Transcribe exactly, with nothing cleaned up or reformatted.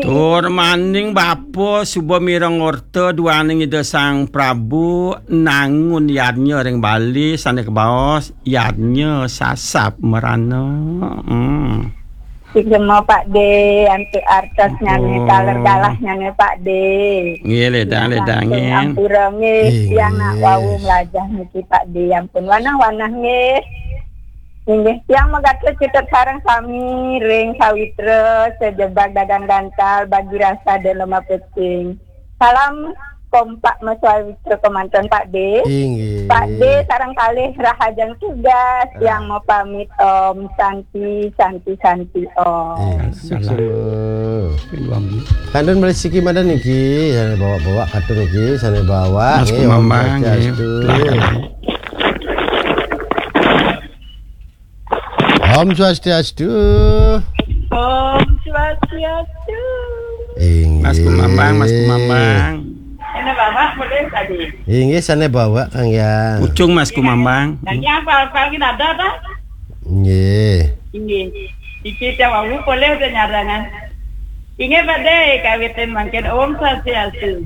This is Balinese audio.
Tur maning bapa suba mireng orta duaning Ida Sang Prabu nangun yadnya ring Bali sane kabaos yadnya sasap merana. Hmm. Sugema Pak De, antuk artosnyane, oh, taler galahnyane Pak De. Nggih, ledang, ledang, langsung nggih. Ampura nggih, nggih. Yang nak wau melajah niki Pak De, ampun wanah-wanah nggih. Inggih, tiang magatra cita sareng sami ring sawitra sajebag dagang dantal bagi rasa dan lemah pecing. Salam kompak meswawitra kemanten Pak De. Inggih. Pak De sareng kalih rahajeng tugas, ah, yang mau pamit Om Santi, Santi, Santi Om. Inggih. Salam. Kantun malih siki madan niki, sane bawa-bawa kantun niki, sane bawa, Mas nggih, Om Kumambang, nggih. Swastiastu. Om Swastiastu. Om Swastiastu. Inggih. Mas Kumambang, Mas Kumambang. Ini Bapak boleh tadi. Inggih, sane bawa, Kang Yang. Pucung, Mas Kumambang. Kang Yang, apa, apa lagi ada, ta? Nggih. Inggih. Iki cawang boleh udah nyarangan. Inggih, Pak De, kawitin mangkin Om Swastiastu.